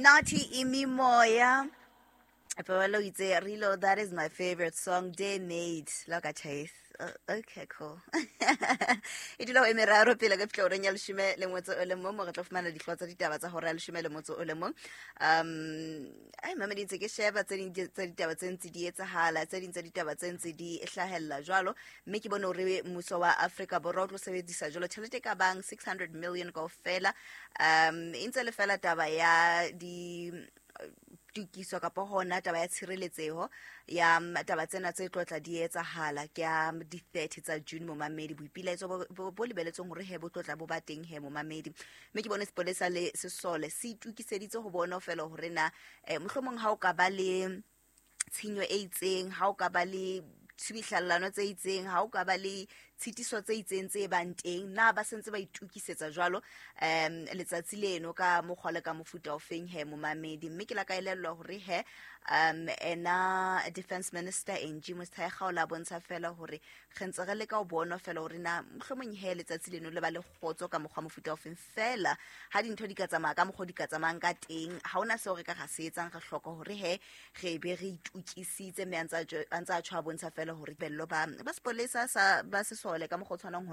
Naughty Imimoya. Pabalo itse Rilo, that is my favorite song, Day Made. Look at Chase. Okay, cool. E dula go e meraro pele ka fitlha oreng ya leshome le motso o le mong mo re tlo fumana dihlooho tsa ditaba tsa hora ya leshome le motso o le mong. Ai mamedi, ntse ke sheba tse ding tsa ditaba tse ntse di etsahala, tse ding tsa ditaba tse ntse di hlahella jwalo, mme ke bone hore mmuso wa Afrika Borwa o tlo sebedisa jwalo tjhelete e ka bang 600 million kaofela, e ntse le fela taba ya di tokiso kapa hona taba ya tshireletseho ya taba tsena tse tlotla di etsahala ke ya di-30 tsa June. Momamedi, boipilaetso bo lebeletsweng hore he bo tlotla bo ba teng he, momamedi, mme ke bone sepolesa le sesole se itokiseditse ho bona fela hore na mohlomong ha o ka ba le tshenyo e itseng, ha o ka ba le tshubihlallano tse itseng, ha o ka ba le tshitiso tse itseng tse bang teng, na ba sentse ba itukisetsa jwalo letsatsi leno ka mokgwa le ka mofuta o feng he, momamedi. Mme ke la ka elellwa hore he ena Defense Minister Angie Motshekga o la bontsha fela hore re ntse re leka ho bona fela hore na mohlomong he letsatsi leno le ba le kgotso ka mokgwa mofuta o feng. Fela ha dintho di ka tsamaya ka mokgwa o di ka tsamayang ka teng, ha hona seo re ka ra se etsang, re hloka hore he re be re itukisitse. Mme a ntse a tjho, a bontsha fela hore bello ba sepolesa sa ba sesole ka mokgwa o tshwanang.